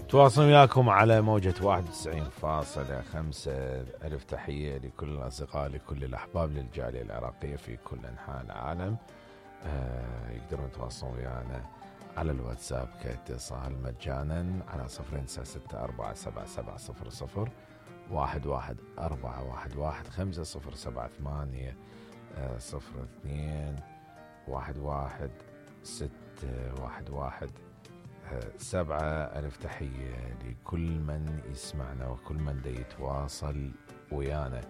تواصل وياكم على موجة 91.5. ألف تحية لكل الأصدقاء، لكل الأحباب، للجالية العراقية في كل أنحاء العالم. يقدرون يتواصلون ويانا على الواتساب كاتصال مجانا على 0564770011411 5078 02 11 7. ألف تحية لكل من يسمعنا وكل من دا يتواصل ويانا.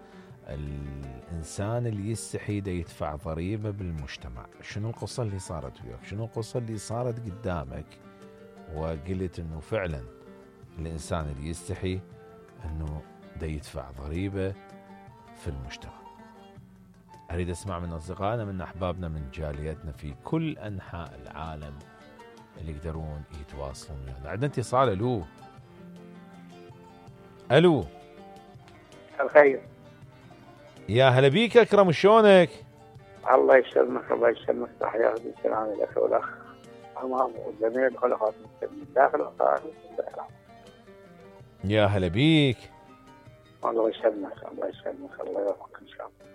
الإنسان اللي يستحي دا يدفع ضريبة بالمجتمع. شنو القصة اللي صارت وياك؟ شنو القصة اللي صارت قدامك وقلت إنه فعلا الإنسان اللي يستحي إنه دا يدفع ضريبة في المجتمع؟ أريد أسمع من أصدقائنا، من أحبابنا، من جاليتنا في كل أنحاء العالم اللي يقدرون يتواصلون ويانا. عندنا اتصال. ألو. الخير. يا هلا بيك أكرم، شلونك؟ الله يسلمك الله يسلمك. تحية السلام لك والأخ أمام وجميع الخلقات من داخل القاهرة. يا هلا بيك. الله يسلمك الله يسلمك الله يوفقك إن شاء الله.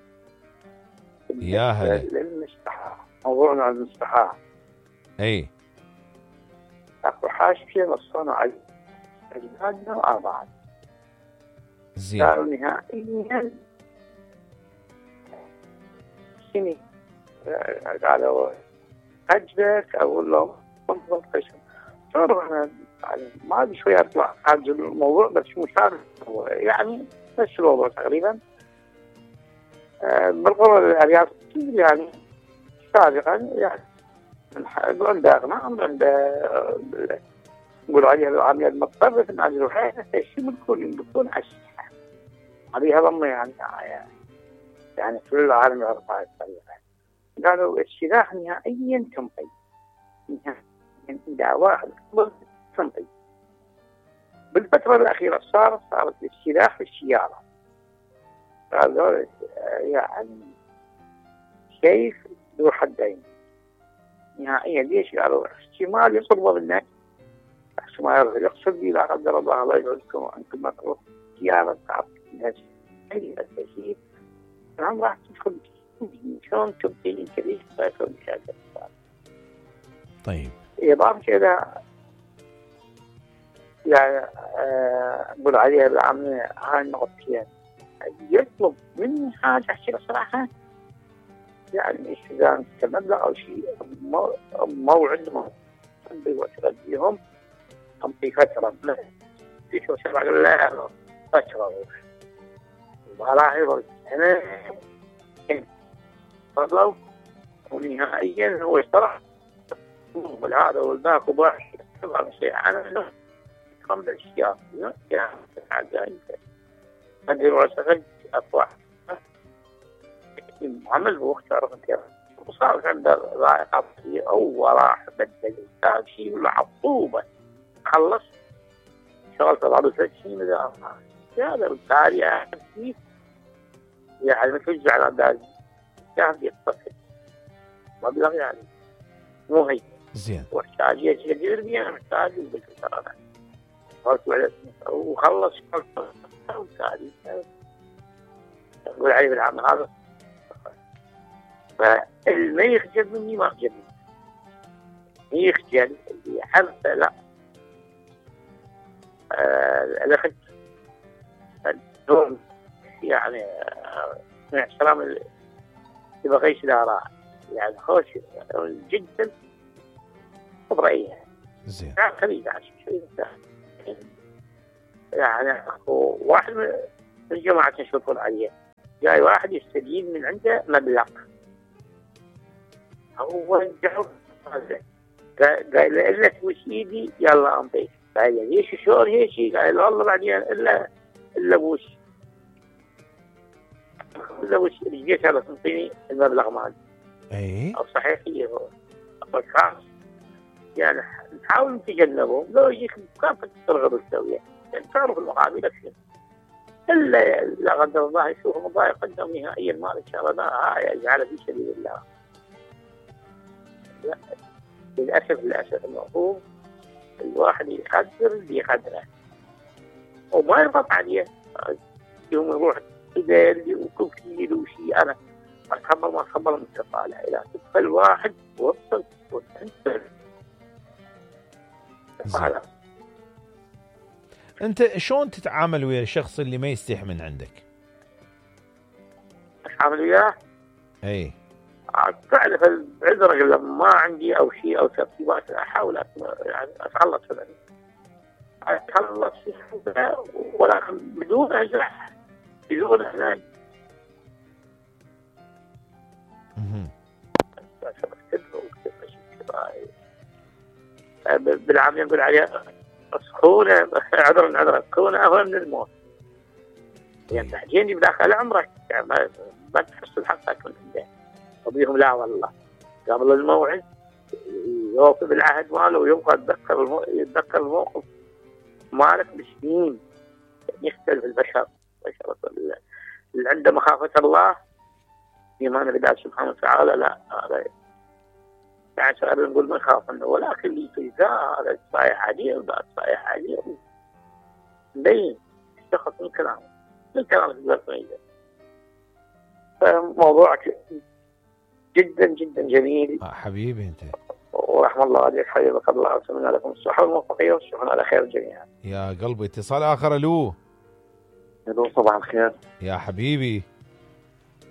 يا هلا. للمستحاة، موضوعنا عن المستحاة. أي. أكو حاشية نصنا على أجنادنا وأربعة. زين. قالوا نهائيا سني، قالوا أجلك أقول لهم انظر قسم. صار ما أدري شوية أطلع هذا الموضوع بس مو صار يعني نفس الموضوع تقريبا. بالقرى الأرياف يعني سابقا يعني عند أغنام عند نقول عليها العامية المضطرة في النادي الوحيدة الشيء بتكون على الساحة. هذه ضمن يعني كل العالم يعرف هاي الطريقة. قالوا السلاح نهائيا تنقي، نهائيا إذا واحد تنقي. بالفترة الأخيرة صارت السلاح في السيارة. قالوا يعني سيف ذو حدين نهائيا. ليش؟ قالوا احتمال يصرف بالناس، احتمال يقصد بي لا قدر الله الله يعزكم وانتم مطروح سيارة تعرف الناس أي التسيير نعم راح تدخل شلون تبدين كريش فايتون شاكر. طيب إضافة إلى يعني أقول عليها بالعامة هاي النقطتين يطلب مني حاجة أحكي صراحة يعني إذا كمبلغ أو شيء موعد بيهم أمضي فترة في شو سبع لا فترة وراح يرد أنا فضلوا ونهائيا هو اشترى والهذا والباك وباحث طبعا شيء أنا خمس أشياء يعني حاجة عندي رأسك أطلع عمل واختار كذا وصار عنده ضائقة أو راح بدل كان شيء ولا عطوبة خلص شغلت بعض الشيء من هذا بالتالي يعني مثل على ذلك كان يتصل مبلغ يعني مو هي زين واحتاج يجير بيه محتاج بالكثرة قلت على وخلص بالتالي أقول عليه بالعمل هذا فالما يخجل مني ما خجل مني يخجل اللي حرف لا الأخذ الدوم يعني من احترام اللي بغيش الآراء يعني خوش جدا طبيعية زين يعني خليج عشان شوي يعني واحد من الجماعة تشوفون عليه جاي واحد يستجيب من عنده مبلغ هو الجو قال له توش ايدي يلا امضي قال له ليش شلون هيك قال له والله بعدين الا وش رجيت هذا تنطيني المبلغ مالي اي او صحيح هي هو خلاص يعني نحاول نتجنبه لو يجيك كافة ترغب السوية يعني تعرف المقابل أكثر إلا لا قدر الله يشوف مضايق قدم نهائيا ما إن شاء الله لا يجعل في سبيل الله. لا للأسف المفهوم الواحد يقدر اللي يقدره وما يضغط عليه. يوم يروح إذا وكوكيل وشيء أنا ما أتخبر من الطالع إلى فالواحد وصل أنت شلون تتعامل ويا الشخص اللي ما يستحي من عندك؟ أتعامل وياه؟ أي تعرف العذر لما ما عندي أو شيء أو ترتيبات أحاول يعني أتخلص منه أتخلص منه ولكن بدون أجرح بدون أحزان. بالعامية نقول عليها سخونة عذرا سخونة أهون من الموت. يعني تحجيني بداخل عمرك يعني ما تحصل حقك من عنده. وبيهم لا والله قبل الموعد يوفي بالعهد ماله ويبقى يتذكر الموقف مالك بسنين. يختلف البشر اللي عنده مخافة الله إيمان بالله سبحانه وتعالى لا هذا يعني سؤال نقول ما يخاف منه ولكن اللي في هذا صايح عديل وذا صايح عديل مبين الشخص من كلامه الزرقية. فموضوعك جدا جدا جميل حبيبي انت ورحم الله عليك حبيبك الله وسلمنا لكم الصحة والموفقية والشكر على خير جميعا. يا قلبي اتصال آخر. ألو صباح الخير يا حبيبي.